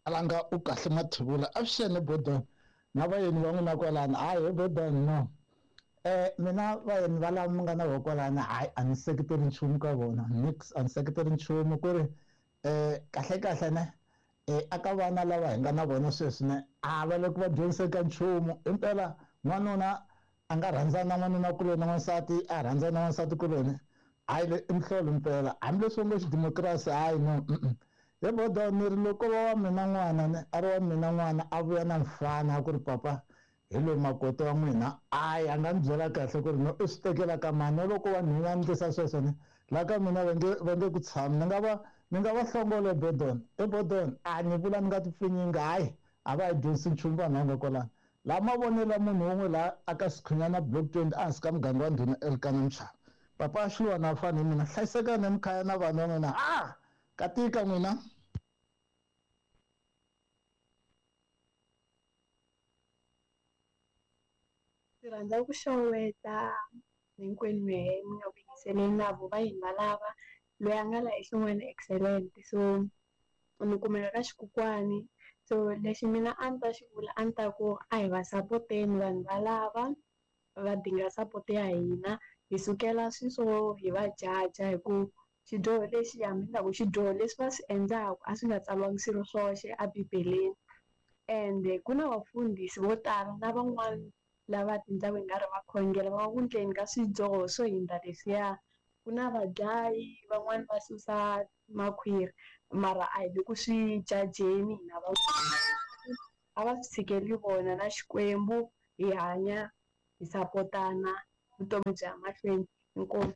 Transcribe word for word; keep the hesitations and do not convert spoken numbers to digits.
Alanga u kahle Mathivula avuxeni Bodon na vayeni va n'wina kwalano. Hayi Bodon no. Eh mina vayeni va lava mi nga na vona kwalano, hayi a ni seketeli nchumu ka vona. Nix a ni seketeli nchumu ku ri eh kahle kahle ne eh aka vana lava hi nga na vona sweswi ne a va le ku va dyondziseni ka nchumu. Impela n'wanuna a nga rhandzana na n'wanuna kuloni na n'wansati a rhandzana na n'wansati kuloni. Hayi le i mihlolo impela hambileswi ngo xidemokirasi hayi no. He Bodon ni ri loko va wa mina n'wana ne a ri wa mina n'wana a vuya na mfana a ku ri papa hi loyi makoti wa n'wina, hayi a nga ni byela kahle ku ri no i swi tekela ka mani. No loko wa nhwenya ni ndlisa sweswo ne laha ka mina va nge va nge ku tshami, ni nga va ni nga va hlongole Bodon. E Bodon a ni vula ni nga ti pfinyingi, hayi a va hi dyondzisi nchumu vanhu va nga kwalano. Laha mavonelo ya munhu wun'we laha aka Sikhunyana block twenty ehansi ka muganga wa Ndhuna Elkana Mchava. Papa Xiluwana a fani hi mina, hlayisekani emikhaya na vanhu va n'wina. Ah, katika n'wina. Ndzi rhandza ku xeweta hinkwenu mehe mi nga ku yingiseleni na vo va yini va lava loyi a nga la xin'wana excellent. So ni kumeka ka xikukwani. So lexi mina a ni ta xi vula a ni ta ku a hi va sapoteni vanhu va lava va dinga support ya hina, hi sukela swilo swo hi va jaja hi ku xidyoho lexi hambi ni ta ku xidyoho leswi va swi endlaka a swi nga tsariwangi swilo swoxe ebibeleni. Ende ku na vafundhisi vo tala na van'wani lava tindhawu hi nga ri va khongela va ku endleni ka swidyoho swo hundza leswiya. Ku na vadlayi van'wani va susa makhwiri mara a hi le ku swi jajeni hina van'wana, a va swi tshikeli vona na Xikwembu, hi hanya hi sapotana vutomi bya mahlweni. Inkomu.